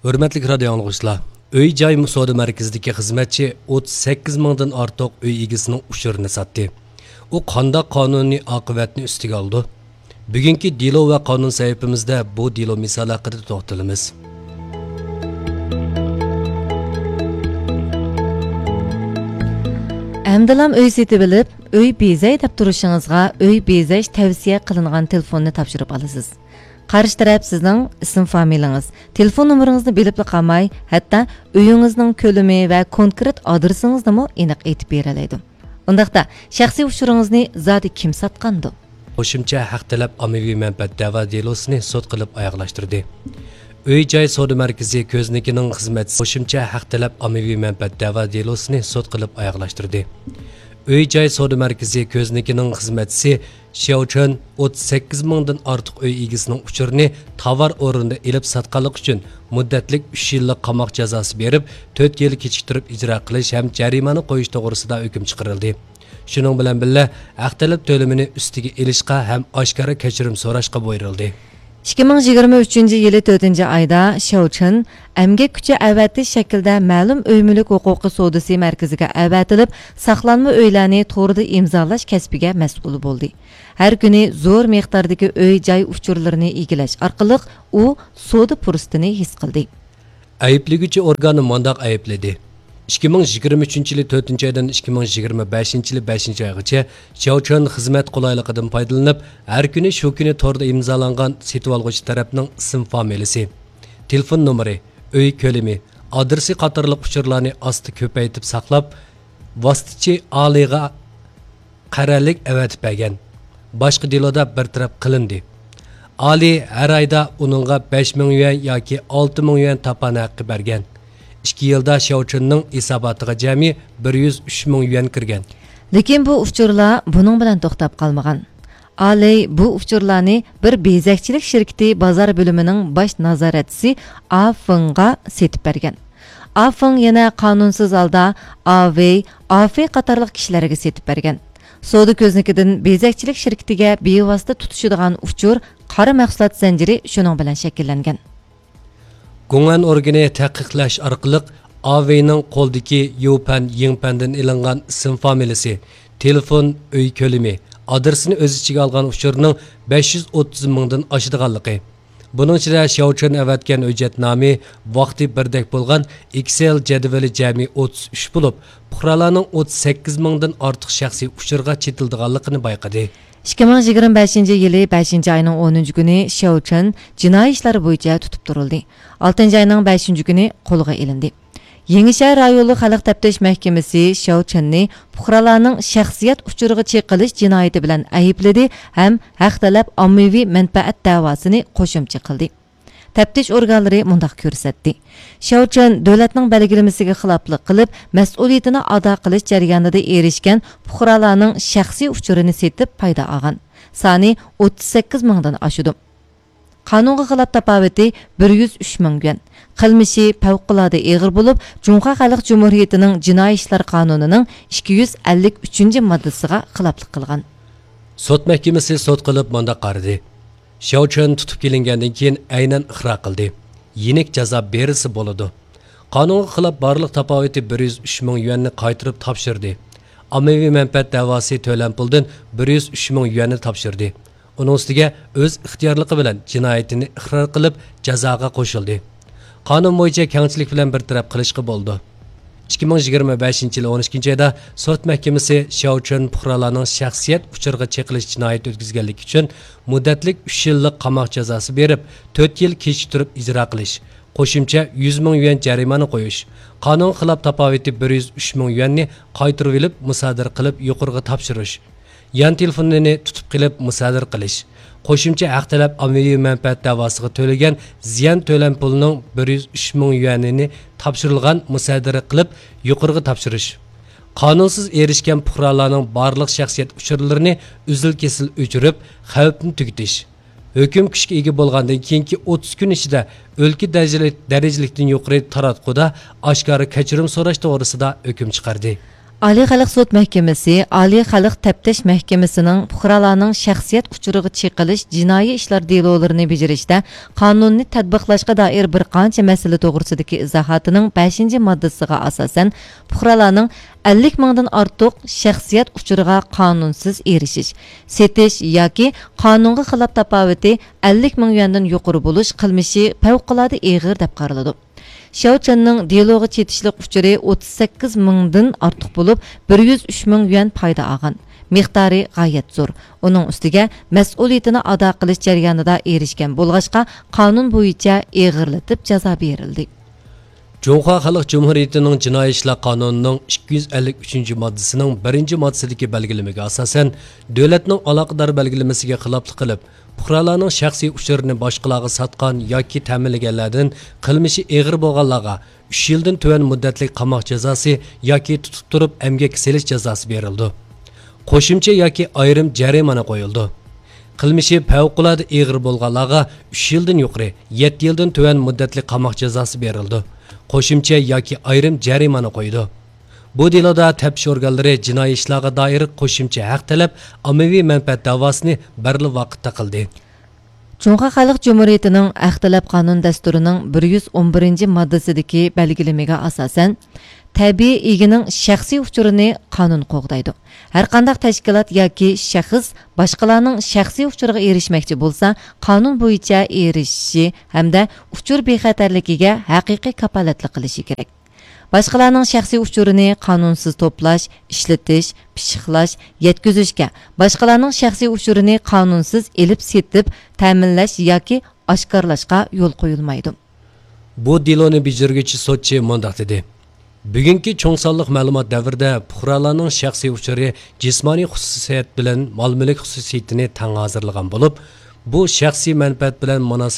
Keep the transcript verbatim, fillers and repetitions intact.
ھۆرمەتلىك رادىيو ئاڭلىغۇچىلار، ئۆي جاي سودا مەركىزىدىكى خىزمەتچى ئوتتۇز سەككىز مىڭدىن ئارتۇق ئۆي ئىگىسىنىڭ ئۇچۇرىنى ساتتى. ئۇ قانداق قانۇنىي ئاقىۋەتنى ئۈستىگە ئالىدۇ؟ بۈگۈنكى دېلو ۋە قانۇن سەھىپىمىزدە بۇ دېلو مىسالى ھەققىدە توختىلىمىز. ئەمدىلام ئۆي سېتىۋېلىپ، ئۆي بېزەي دەپ تۇرۇشىڭىزغا ئۆي بېزەش تەۋسىيە قىلىنغان تېلېفوننى تاپشۇرۇپ ئالىسىز. قارشى تەرەپ سىزنىڭ ئىسىم فامىلىڭىز، تېلېفون نومۇرىڭىزنى بىلىپلا قالماي، ھەتتا ئۆيىڭىزنىڭ كۆلىمى ۋە كونكرېت ئادرېسىڭىزنىمۇ ئېنىق ئېيتىپ بېرەلەيدۇ. ئۇنداقتا، شەخسىي ئۇچۇرىڭىزنى زادى كىم ساتقاندۇ؟ قوشۇمچە ھەق تەلەپ ئاممىۋى مەنپەئەت دەۋا دېلوسىنى سوت قىلىپ ئاياغلاشتۇردى. ئۆي جاي سودا مەركىزى كۆزنىكىنىڭ خىزمەتچىسى قوشۇمچە ھەق تەلەپ ئاممىۋى مەنپەئەت دەۋا دېلوسىنى سوت قىلىپ ئاياغلاشتۇردى. ئۆي جاي سودا مەركىزى كۆزنىكىنىڭ خىزمەتچىسى شياۋ چۈەن ئوتتۇز سەككىز مىڭدىن ئارتۇق ئۆي ئىگىسىنىڭ ئۇچۇرىنى تاۋار ئورنىدا ئېلىپ ساتقانلىقى ئۈچۈن مۇددەتلىك ئۈچ يىللىق قاماق جازاسى بېرىپ، تۆت يىل كېچىكتۈرۈپ ئىجرا قىلىش ھەم جەرىمانە قويۇش توغرىسىدا ھۆكۈم چىقىرىلدى. شۇنىڭ بىلەن بىللە، ھەق تەلەپ تۆلىمىنى ئۈستىگە ئېلىشقا ھەم ئاشكارا كەچۈرۈم سوراشقا بۇيرۇلدى. ئىككى مىڭ يىگىرمە ئۈچىنچى يىلى تۆتىنچى ئايدا شياۋ چۈەن ئەمگەك كۈچى ئەۋەتىش شەكلىدە مەلۇم ئۆي مۈلۈك ھوقۇقى سودىسى مەركىزىگە ئەۋەتىلىپ، ساقلانما ئۆيلەرنى توردا ئىمزالاش كەسپىگە مەسئۇل بولدى. ھەر كۈنى زور مىقداردىكى ئۆي جاي ئۇچۇرلىرىنى ئىگىلەش ئارقىلىق ئۇ سودا پۇرسىتىنى ھېس قىلدى. ئەيىبلىگۈچى ئورگاننى مۇنداق ئەيىبلىدى: ئىككى مىڭ يىگىرمە ئۈچىنچى يىلى تۆتىنچى ئايدىن ئىككى مىڭ يىگىرمە بەشىنچى يىلى بەشىنچى ئايغىچە شياۋ چۈەن خىزمەت قولايلىقىدىن پايدىلىنىپ، ھەر كۈنى شۇ كۈنى توردا ئىمزالانغان سېتىۋالغۇچى تەرەپنىڭ ئىسىم فامىلىسى، تېلېفون نومۇرى، ئۆي كۆلىمى، ئادرېسى قاتارلىق ئۇچۇرلارنى ئاستا كۆپەيتىپ ساقلاپ، ۋاسىتىچى ئالىيغا قەرەللىك ئەۋەتىپ بەرگەن. باشقا دېلودا بىر تەرەپ قىلىندى. ئالىي ھەر ئايدا ئۇنىڭغا بەش مىڭ يۈەن ياكى ئالتە مىڭ يۈەن تاپان ھەققى بەرگەن. ئىككى يىلدا شياۋ چۈەننىڭ ھېساباتىغا جەمئىي بىر يۈز ئۈچ مىڭ يۈەن كىرگەن. لېكىن بۇ ئۇچۇرلار بۇنىڭ بىلەن توختاپ قالمىغان. ئالىي بۇ ئۇچۇرلارنى بىر بېزەكچىلىك شىركىتى بازار بۆلۈمىنىڭ باش نازارەتچىسى ئا فېڭغا سېتىپ بەرگەن. ئا فېڭ يەنە قانۇنسىز ھالدا ئا ۋېي، ئا فېي قاتارلىق كىشىلەرگە سېتىپ بەرگەن. سودا كۆزنىكىدىن بېزەكچىلىك شىركىتىگە بىۋاسىتە تۇتىشىدىغان ئۇچۇر قارا مەھسۇلات زەنجىرى شۇنىڭ بىلەن شەكىللەنگەن. گۇڭئەن ئورگىنى تەھقىقلەش ئارقىلىق ئا ۋېينىڭ قولىدىكى يۇپەن يىڭپەندىن ئېلىنغان ئىسىم فامىلىسى، تېلېفون، ئۆي كۆلىمى، ئادرېسىنى ئۆز ئىچىگە ئالغان ئۇچۇرنىڭ بەش يۈز ئوتتۇز مىڭدىن ئاشىدىغانلىقى، بۇنىڭ ئىچىدە شياۋ چۈەن ئەۋەتكەن ھۆججەتنامە، ۋاقتى بىردەك بولغان ئېكسېل جەدۋىلى جەمئىي ئوتتۇز ئۈچ بولۇپ، پۇقرالارنىڭ ئوتتۇز سەككىز مىڭدىن ئارتۇق شەخسىي ئۇچۇرغا چېتىلىدىغانلىقىنى بايقىدى. ئىككى مىڭ يىگىرمە بەشىنچى يىلى بەشىنچى ئاينىڭ ئونىنچى كۈنى شياۋ چۈەن جىنايى ئىشلار بويىچە تۇتۇپ تۇرۇلدى. ئالتىنچى ئاينىڭ بەشىنچى كۈنى قولغا ئېلىندى. يېڭىشەھەر رايونلۇق خەلق تەپتىش مەھكىمىسى شياۋ چۈەننى پۇقرالارنىڭ شەخسىيەت ئۇچۇرىغا چېقىلىش جىنايىتى بىلەن ئەيىبلىدى ھەم ھەق تەلەپ ئاممىۋى مەنپەئەت دەۋاسىنى قوشۇمچە قىلدى. تەپتىش ئورگانلىرى مۇنداق كۆرسەتتى: شياۋ چۈەن دۆلەتنىڭ بەلگىلىمىسىگە خىلاپلىق قىلىپ، مەسئۇلىيىتىنى ئادا قىلىش جەريانىدا ئېرىشكەن پۇقرالارنىڭ شەخسىي ئۇچۇرىنى سېتىپ پايدا ئالغان. سانى ئوتتۇز سەككىز مىڭدىن ئاشىدۇ. قانۇنغا خىلاپ تاپاۋىتى بىر يۈز ئۈچ مىڭ يۈەن. قىلمىشى پەۋقۇلئاددە ئېغىر بولۇپ، جۇڭخۇا خەلق جۇمھۇرىيىتىنىڭ جىنايى ئىشلار قانۇنىنىڭ ئىككى يۈز ئەللىك ئۈچىنچى ماددىسىغا خىلاپلىق قىلغان. سوت مەھكىمىسى سوت قىلىپ مۇنداق قارىدى: شياۋ چۈەن تۇتۇپ كېلىنگەندىن كېيىن ئەينەن ئىقرار قىلدى. يېنىك جازا بېرىلسە بولىدۇ. قانۇنغا خىلاپ بارلىق تاپاۋىتى بىر يۈز ئۈچ مىڭ يۈەننى قايتۇرۇپ تاپشۇردى. ئاممىۋى مەنپەئەت دەۋاسى تۆلەم پۇلدىن بىر يۈز ئۈچ مىڭ يۈەننى تاپشۇردى. ئۇنىڭ ئۈستىگە ئۆز ئىختىيارلىقى بىلەن جىنايىتىنى ئىقرار قىلىپ، جازاغا قوشۇلدى. قانۇن بويىچە كەڭچىلىك بىلەن بىر تەرەپ قىلىشقا بولىدۇ. ئىككى مىڭ يىگىرمە بەشىنچى يىلى ئون ئىككىنچى ئايدا سوت مەھكىمىسى شياۋ چۈەن پۇقرالارنىڭ شەخسىيەت ئۇچۇرىغا چېقىلىش جىنايىتى ئۆتكۈزگەنلىكى ئۈچۈن مۇددەتلىك ئۈچ يىللىق قاماق جازاسى بېرىپ، تۆت يىل كېچىكتۈرۈپ ئىجرا قىلىش، قوشۇمچە يۈز مىڭ يۈەن جەرىمانە قويۇش، قانۇنغا خىلاپ تاپاۋىتى بىر يۈز ئۈچ مىڭ يۈەننى قايتۇرۇۋېلىپ مۇسادىرە قىلىپ يۇقىرىغا تاپشۇرۇش، يان تېلېفونىنى تۇتۇپ قېلىپ مۇسادىرە قىلىش، قوشۇمچە ھەق تەلەپ ئاممىۋى مەنپەئەت دەۋاسىغا تۆلىگەن زىيان تۆلەم پۇلىنىڭ بىر يۈز ئۈچ مىڭ يۈەنىنى تاپشۇرۇلغان مۇسادىرە قىلىپ يۇقىرىغا تاپشۇرۇش، قانۇنسىز ئېرىشكەن پۇقرالارنىڭ بارلىق شەخسىيەت ئۇچۇرلىرىنى ئۈزۈل-كېسىل ئۆچۈرۈپ، خەۋپنى تۈگىتىش، ھۆكۈم كۈچكە ئىگە بولغاندىن كېيىنكى ئوتتۇز كۈن ئىچىدە ئۆلكە دەرىجىلىك، دەرىجىلىكتىن يۇقىرى تاراتقۇدا ئاشكارا كەچۈرۈم سوراش توغرىسىدا ھۆكۈم چىقاردى. ئالىي خەلق سوت مەھكىمىسى، ئالىي خەلق تەپتىش مەھكىمىسىنىڭ پۇقرالارنىڭ شەخسىيەت ئۇچۇرىغا چېقىلىش جىنايى ئىشلار دېلولىرىنى بېجىرىشتە قانۇننى تەتبىقلاشقا دائىر بىر قانچە مەسىلە توغرىسىدىكى ئىزاھاتىنىڭ بەشىنچى ماددىسىغا ئاساسەن، پۇقرالارنىڭ ئەللىك مىڭدىن ئارتۇق شەخسىيەت ئۇچۇرىغا قانۇنسىز ئېرىشىش، سېتىش ياكى قانۇنغا خىلاپ تاپاۋىتى ئەللىك مىڭ يۈەندىن يۇقىرى بولۇش قىلمىشى پەۋقۇلئاددە ئېغىر دەپ قارىلىدۇ. شياۋ چېننىڭ دېلوغا چېتىشلىق ئۇچۇرى ئوتتۇز سەككىز مىڭدىن ئارتۇق بولۇپ، بىر يۈز ئۈچ مىڭ يۈەن پايدا ئالغان. مىقدارى غايەت زور. ئۇنىڭ ئۈستىگە مەسئۇلىيىتىنى ئادا قىلىش جەريانىدا ئېرىشكەن بولغاچقا، قانۇن بويىچە ئېغىرلىتىپ جازا بېرىلدى. جۇڭخۇا خەلق جۇمھۇرىيىتىنىڭ جىنايى ئىشلار قانۇنىنىڭ ئىككى يۈز ئەللىك ئۈچىنچى ماددىسىنىڭ بىرىنچى ماددىسىدىكى بەلگىلىمىگە ئاساسەن، دۆلەتنىڭ ئالاقىدار بەلگىلىمىسىگە خىلاپلىق قىلىپ، پۇقرالارنىڭ شەخسىي ئۇچۇرىنى باشقىلارغا ساتقان ياكى تەمىنلىگەنلەردىن قىلمىشى ئېغىر بولغانلارغا ئۈچ يىلدىن تۆۋەن مۇددەتلىك قاماق جازاسى ياكى تۇتۇپ تۇرۇپ ئەمگەككە سېلىش جازاسى بېرىلىدۇ. قوشۇمچە ياكى ئايرىم جەرىمانە قويۇلىدۇ. قىلمىشى پەۋقۇلئاددە ئېغىر بولغانلارغا ئۈچ يىلدىن يۇقىرى، يەتتە يىلدىن تۆۋەن مۇددەتلىك قاماق جازاسى بېرىلىدۇ. قوشۇمچە ياكى ئايرىم جەرىمانە قويىدۇ. بۇ دېلودا تەپتىش ئورگانلىرى جىنايى ئىشلارغا دائىر قوشۇمچە ھەق تەلەپ، ئاممىۋى مەنپەئەت دەۋاسىنى بىرلا ۋاقىتتا قىلدى. جۇڭخۇا خەلق جۇمھۇرىيىتىنىڭ ھەق تەلەپ قانۇن دەستۇرىنىڭ بىر يۈز ئون بىرىنچى ماددىسىدىكى بەلگىلىمىگە ئاساسەن، تەبىئىي ئىگىنىڭ شەخسىي ئۇچۇرىنى قانۇن قوغدايدۇ. ھەرقانداق تەشكىلات ياكى شەخس باشقىلارنىڭ شەخسىي ئۇچۇرىغا ئېرىشمەكچى بولسا، قانۇن بويىچە ئېرىشىشى ھەمدە ئۇچۇر بىخەتەرلىكىگە ھەقىقىي كاپالەتلىك قىلىشى كېرەك. باشقىلارنىڭ شەخسىي ئۇچۇرىنى قانۇنسىز توپلاش، ئىشلىتىش، پىششىقلاش، يەتكۈزۈشكە، باشقىلارنىڭ شەخسىي ئۇچۇرىنى قانۇنسىز ئېلىپ سېتىپ، تەمىنلەش ياكى ئاشكارىلاشقا يول قويۇلمايدۇ. بۇ دېلونى بېجىرگۈچى سوتچى مۇنداق دېدى: بۈگۈنكى چوڭ سانلىق مەلۇمات دەۋرىدە پۇقرالارنىڭ شەخسىي ئۇچۇرى جىسمانىي خۇسۇسىيەت بىلەن مال-مۈلۈك خۇسۇسىيىتىنى تەڭ ھازىرلىغان بولۇپ، بۇ شەخسىي مەنپەئەت بىلەن مۇناسىۋەتلىك